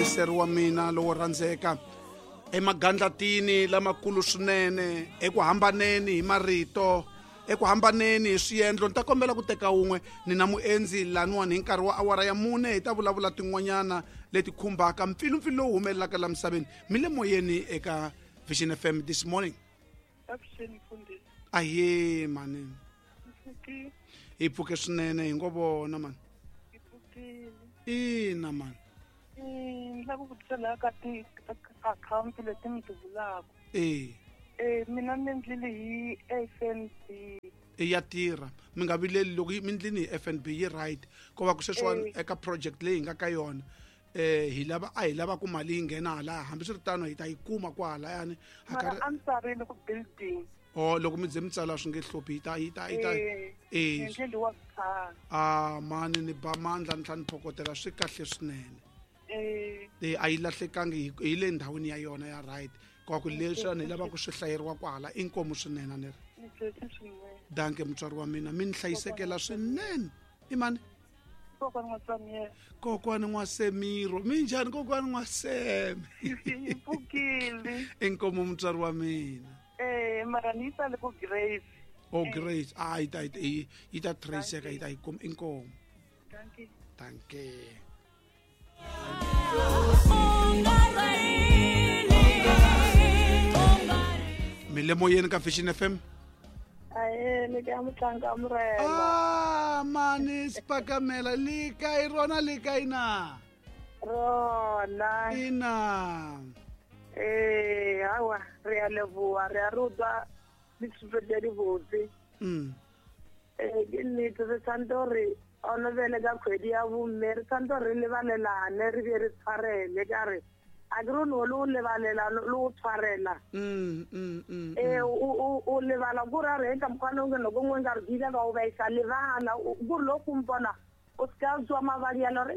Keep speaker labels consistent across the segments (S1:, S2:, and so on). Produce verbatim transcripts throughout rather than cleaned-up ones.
S1: Muyingiseri wa mina lowo rhandzeka emagandlatini lamakulu swinene eku hambaneni hi marito eku hambaneni hi swiendlo ni ta kombela ku teka wun'we ni na muendzi laniwani hi nkarhi wa awara ya mune hi ta vulavula tin'wanyana leti khumbaka mpfilumpfilu lowu humelelaka la misaveni mi le moyeni eka Vision F M this morning. Ahe mani hi pfuke swinene hi ngo vona mani ina mani
S2: ni lava ku vutisa laha ka ti-akhawunti leti mi ti vulaka.
S1: Eh
S2: eh mina ni endlile hi F N B.
S1: Ya tirha mi nga vileli loko mi ndlini hi F N B yi right ko va ku sweswiwani eka project leyi hi nga ka yona eh hi lava a hi lava ku mali yi nghena hala hambiswiritano hi ta yi kuma kwahalayani.
S2: Mara a ni tsarile ku building.
S1: Oh loko mi ze mi tsala swi nge hluphi yi ta yi ta yi ta
S2: eh
S1: ah mani ni ba mandla ni tlhela ni phokotela swi kahle swinene. Eh a yi lahlekangi hi le ndhawini ya yona ya right kwa ku leswi ni lava ku swi hlayeriwa kwahala i nkomu swinene ni ri danke mutswari wa mina mi ni hlayisekela swinene i mani kokwani N'wasemiro minjhani kokwani N'waseme inkomu mutswari wa mina.
S2: Eh mara ni tsale ku Grace.
S1: Oh Grace ah yi ta yi yi ta traceka yi ta yi kuma inkomu.
S2: Danke.
S1: Danke. Mi le moyeni ka Vision F M.
S2: Ae le ka mutlanka murena.
S1: Ah mani spakamela le kae rona le kae na?
S2: Rona.
S1: Ina.
S2: Eh awa re a leboha re a rutwa dithuto di botse.
S1: Mm.
S2: Eh ke nnete re tshwanetse hore ona bele ka kgwedi ya bomme re tshwanetse re lebalelane re be re tshwarele ka re a ke re no le o lebalela le o tshwarela.
S1: Mm mm mm.
S2: Eh o o lebala go ra re ka mkhwana o nako nngwe nka re dila ka o ba isa lebala go lo kumpona o ska tswa mabadi a lore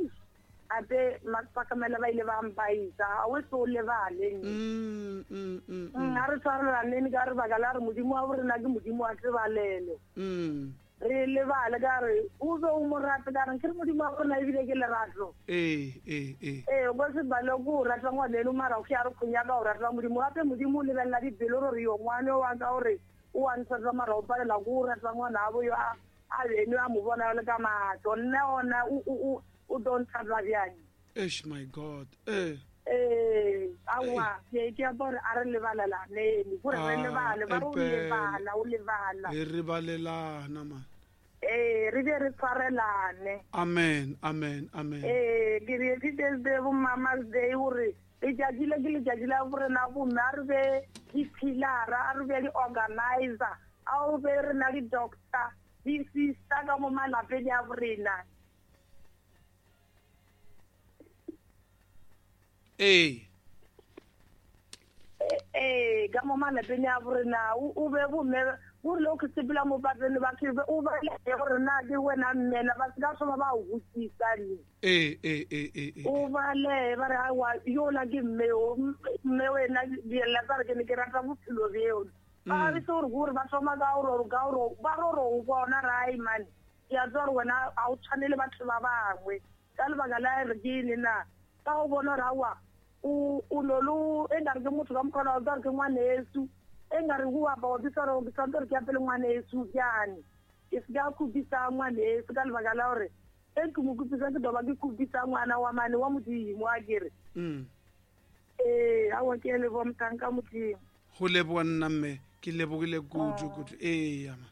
S2: ape mapakamela ba ile ba mpaisa a o se o lebale.
S1: Mm mm mm.
S2: A re tshwarelaneng ka re baka la re modimo wa rena ke modimo wa tsebalelo.
S1: Mm.
S2: Re lebale ka re o be o mo rate ka re ke re modimo wa rena ebile ke lerato.
S1: Eh eh eh.
S2: Eh o se bale go rata ngwaneno mara o ya re khunya ka o rata modimo gape modimo o lebelela dipelo gore yo ngwane wa ka gore o a ntsha mara o palela go rata ngwana abo yo a a beno a mo bona le ka matlo nne ona o o o don't have bjang.
S1: Eish my God. Eh
S2: eh awa ke ke gore a re lebalelaneng gore re lebale ba re o lebala o lebala
S1: re ribalelana man.
S2: Eh re be re tshwarelane.
S1: Amen amen amen.
S2: Eh ke re ke be bo Mama's Day gore letšatši le ke letšatši la borena bomme a re be di-pillara a re be di-organizer a o be re na di-doctor di-sister ka mo malapeng a borena.
S1: Eh
S2: eh ka mo malapeng a borena o be bomme gore le o ke sepela mo pateng ba ke o ba le gore na ke wena mmela ba se ka thoma ba o botsisa le.
S1: Eh eh eh eh
S2: o bale ba re awa yola ke mme o mme wena diela tsa re ke ne ke rata bophelo beo ba re se gore gore ba thoma ka gore ka gore ba re o bona rai man ya tswa gore wena a o tshwanele batho ba bangwe ka lebaka la re ke ene na ka go bona gore awa o o no lo e nkare ke motho ka mokgona o tsare ke ngwaneso e nkare go apa o bitsa gore ke tshwanetse gore ke apele ngwaneso bjane ke se ka khupisa ngwaneso ka lebaka la gore e ke mo khupisa ke doba ke khupisa ngwana wa mane wa modimo a kere.
S1: Mm.
S2: Eh awa ke leboha mothanka modimo.
S1: Go leboha nna mme ke lebogile kudu kudu. Ee ama.